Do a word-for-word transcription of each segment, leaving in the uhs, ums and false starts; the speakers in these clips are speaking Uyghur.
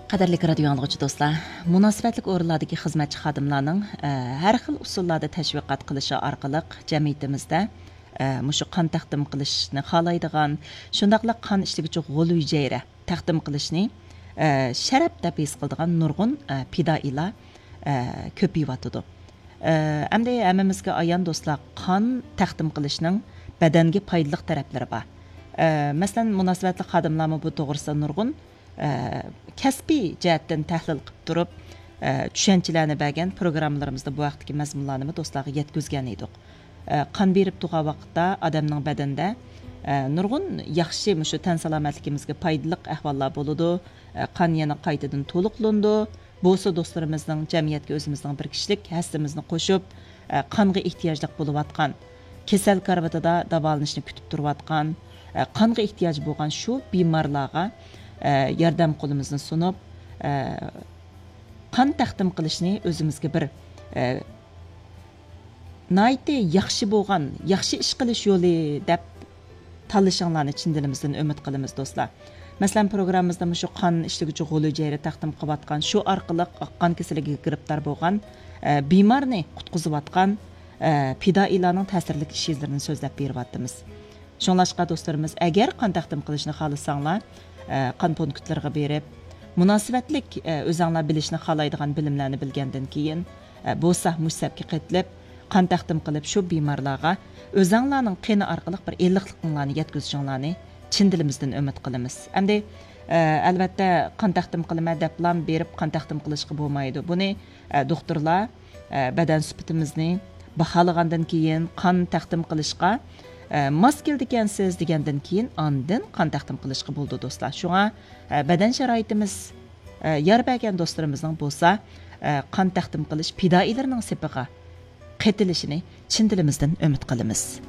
قەدىرلىك رادىيو ئاڭلىغۇچى دوستلار، مۇناسىۋەتلىك ئورۇنلاردىكى خىزمەتچى خادىملارنىڭ، ئە، ھەر خىل ئۇسۇللاردا تەشۋىقات قىلىشى ئارقىلىق جەمئىيىتىمىزدە، ئە، مۇشۇ قان تەقدىم قىلىشنى خالايدىغان، شۇنداقلا قان ئىشلىگۈچى غول ھۈجەيرە تەقدىم قىلىشنى، ئە، شەرەپ دەپ ھېس قىلىدىغان نۇرغۇن، ئە، پىدائىيلار، ئە، كۆپىيىۋاتىدۇ. ئە، ئەمدى ھەممىمىزگە ئايان دوستلار، قان تەقدىم قىلىشنىڭ بەدەنگە پايدىلىق تەرەپلىرى بار. ئە، مەسىلەن، مۇناسىۋەتلىك خادىملارمۇ بۇ توغرىسىدا نۇرغۇن ئە، كەسپىي جەھەتتىن تەھلىل قىلىپ تۇرۇپ، ئە، چۈشەنچىلەرنى بەرگەن پروگراممىلىرىمىزدا بۇ ھەقتىكى مەزمۇنلارنىمۇ دوستلارغا يەتكۈزگەن ئىدۇق. ئە، قان بېرىپ تۇرغان ۋاقىتتا ئادەمنىڭ بەدىنىدە، ئە، نۇرغۇن ياخشى، مۇشۇ تەن سالامەتلىكىمىزگە پايدىلىق ئەھۋاللار بولىدۇ. ئە، قان يەنە قايتىدىن تولۇقلىنىدۇ. بولسا دوستلىرىمىزنىڭ جەمئىيەتكە ئۆزىمىزنىڭ بىر كىشىلىك ھەسسىمىزنى قوشۇپ، ئە، قانغا ئېھتىياجلىق بولۇۋاتقان، كېسەل كارىۋىتىدا داۋالىنىشنى كۈتۈپ تۇرۇۋاتقان، ئە، قانغا ئېھتىياجى بولغان شۇ بىمارلارغا، ئە، ياردەم قولىمىزنى سۇنۇپ، ئە، قان تەقدىم قىلىشنى ئۆزىمىزگە بىر، ئە، ناھايىتى ياخشى بولغان، ياخشى ئىش قىلىش يولى دەپ تاللىشىڭلارنى چىن دىلىمىزدىن ئۈمىد قىلىمىز، دوستلار. مەسىلەن، پروگراممىمىزدا مۇشۇ قان ئىشلىگۈچى غول ھۈجەيرە تەقدىم قىلىۋاتقان، شۇ ئارقىلىق ئاق قان كېسىلىگە گىرىپتار بولغان، ئە، بىمارنى قۇتقۇزۇۋاتقان، ئە، پىدائىيلارنىڭ تەسىرلىك ئىش ئىزلىرىنى سۆزلەپ بېرىۋاتىمىز. شۇڭلاشقا، دوستلىرىمىز، ئەگەر قان تەقدىم قىلىشنى خالىساڭلار، ئە، قان پونكىتلىرىغا بېرىپ، مۇناسىۋەتلىك، ئە، ئۆزەڭلار بىلىشنى خالايدىغان بىلىملەرنى بىلگەندىن كېيىن، ئە، بولسا مۇشۇ سەپكە قېتىلىپ، قان تەقدىم قىلىپ، شۇ بىمارلارغا ئۆزەڭلارنىڭ قېنى ئارقىلىق بىر ئىللىقلىقىڭلارنى يەتكۈزۈشۈڭلارنى چىن دىلىمىزدىن ئۈمىد قىلىمىز. ئەمدى، ئە، ئەلۋەتتە، قان تەقدىم قىلىمەن دەپلا بېرىپ قان تەقدىم قىلىشقا بولمايدۇ. بۇنى، ئە، دوختۇرلار، ئە، بەدەن سۈپىتىمىزنى باھالىغاندىن كېيىن، قان تەقدىم قىلىشقا، ئە، ماس كېلىدىكەنسىز دېگەندىن كېيىن، ئاندىن قان تەقدىم قىلىشقا بولىدۇ، دوستلار. شۇڭا، ئە، بەدەن شارائىتىمىز، ئە، يار بەرگەن دوستلىرىمىزنىڭ بولسا، ئە، قان تەقدىم قىلىش پىدائىيلىرىنىڭ سېپىغا قېتىلىشىنى چىن دىلىمىزدىن ئۈمىد قىلىمىز.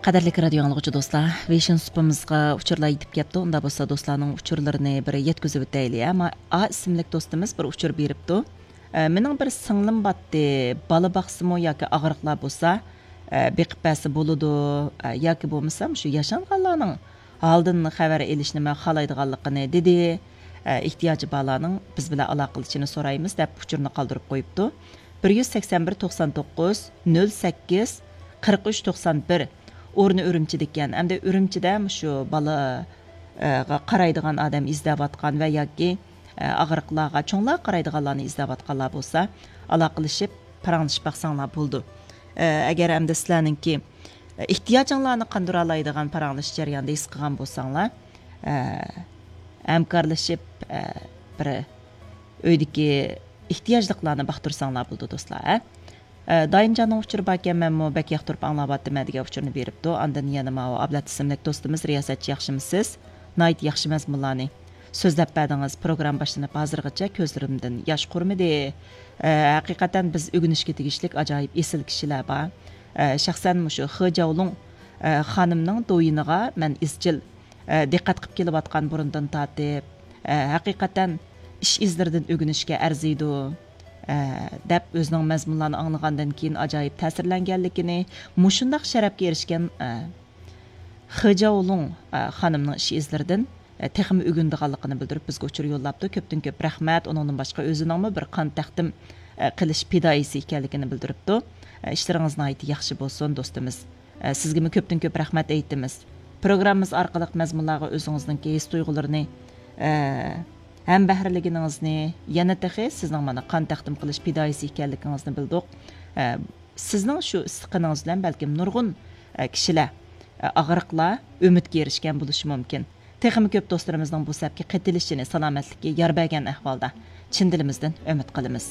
قەدىرلىك رادىيو ئاڭلىغۇچى دوستلار، ۋېيشىن سۇپىمىزغا ئۇچۇرلار يېتىپ كەپتۇ. ئۇنداق بولسا دوستلارنىڭ ئۇچۇرلىرىنى بىر يەتكۈزۈۋېتەيلى. ئەمما ئا ئىسىملىك دوستىمىز بىر ئۇچۇر بېرىپتۇ. ئە، مېنىڭ بىر سىڭلىم باتتى، بالا باقسىمۇ ياكى ئاغرىقلار بولسا، ئە، بېقىپ بەرسە بولىدۇ، ئە، ياكى بولمىسا شۇ ياشانغانلارنىڭ ھالىدىن خەۋەر ئېلىشنى مەن خالايدىغانلىقىنى دېدى. ئە، ئېھتىياجى بارلارنىڭ بىز بىلەن ئالاقىلىشىشىنى سورايمىز، دەپ ئۇچۇرنى قالدۇرۇپ قويۇپتۇ. بىر يۈز سەكسەن بىر، توقسان توققۇز، نۆل سەككىز، قىرىق ئۈچ، توقسان بىر. ئورنى ئۈرۈمچىدىكەن. ئەمدى ئۈرۈمچىدە مۇشۇ بالا، ئە، قارايدىغان ئادەم ئىزدەۋاتقان ۋە ياكى، ئە، ئاغرىقلارغا، چوڭلارغا قارايدىغانلارنى ئىزدەۋاتقانلار بولسا، ئالاقىلىشىپ، پاراڭلىشىپ باقساڭلار بولىدۇ. ئە، ئەگەر ئەمدى سىلەرنىڭكى، ئە، ئېھتىياجىڭلارنى قاندۇرالايدىغان پاراڭلىشىش جەريانىدا ھېس قىلغان بولساڭلار، ئە، ھەمكارلىشىپ، ئە، بىر ئۆيدىكى ئېھتىياجلىقلارنى باقتۇرساڭلار بولىدۇ، دوستلار، ھە؟ ئە، دائىمجاننىڭ ئۇچۇرى باركەن، مەنمۇ بەك ياقتۇرۇپ ئاڭلاۋاتىمەن دېگەن ئۇچۇرنى بېرىپتۇ. ئاندىن يەنە ماۋۇ ئابلەت ئىسىملىك دوستىمىز، رىياسەتچى، ياخشىمۇسىز؟ ناھايىتى ياخشى مەزمۇنلارنى سۆزلەپ بەردىڭىز. پروگرامما باشلىنىپ ھازىرغىچە كۆزلىرىمدىن ياش قۇرۇمىدى. ئە، ھەقىقەتەن بىز ئۆگىنىشكە تېگىشلىك ئاجايىپ ئېسىل كىشىلەر بار. ئە، شەخسەن مۇشۇ خې جاۋلۇڭ، ئە، خانىمنىڭ دويىنىغا مەن ئىزچىل، ئە، دىققەت قىلىپ كېلىۋاتقان بۇرۇندىن تارتىپ، ئە، ھەقىقەتەن ئىش ئىزلىرىدىن ئۆگىنىشكە ئەرزىيدۇ، ئە، دەپ ئۆزىنىڭ مەزمۇنلارنى ئاڭلىغاندىن كېيىن ئاجايىپ تەسىرلەنگەنلىكىنى، مۇشۇنداق شەرەپكە ئېرىشكەن، ئە، خې جاۋلۇڭ، ئە، خانىمنىڭ ئىش ئىزلىرىدىن، ئە، تېخىمۇ ئۆگىنىدىغانلىقىنى بىلدۈرۈپ، بىزگە ئۇچۇر يوللاپتۇ. كۆپتىن كۆپ رەھمەت. ئۇنىڭدىن باشقا ئۆزىنىڭمۇ بىر قان تەقدىم، ئە، قىلىش پىدائىيسى ئىكەنلىكىنى بىلدۈرۈپتۇ. ئە، ئىشلىرىڭىز ناھايىتى ياخشى بولسۇن، دوستىمىز. ئە، سىزگىمۇ كۆپتىن كۆپ رەھمەت ئېيتىمىز. پروگراممىمىز ئارقىلىق مەزمۇنلارغا ئۆزىڭىزنىڭكى ھېس تۇيغۇلىرىنى، ئە، ھەمبەھىرلىگىنىڭىزنى، يەنە تېخى سىزنىڭ مانا قان تەقدىم قىلىش پىدائىيسى ئىكەنلىكىڭىزنى بىلدۇق. ئە، سىزنىڭ شۇ ئىسسىقىنىڭىز بىلەن بلكىم نۇرغۇن، ئە، كىشىلەر، ئە، ئاغرىقلار ئۈمىدكە ئېرىشكەن بولۇشى مۇمكىن. تېخىمۇ كۆپ دوستلىرىمىزنىڭ بۇ سەپكە قېتىلىشىنى، سالامەتلىككە يار بەرگەن ئەھۋالدا چىن دىلىمىزدىن ئۈمىد قىلىمىز.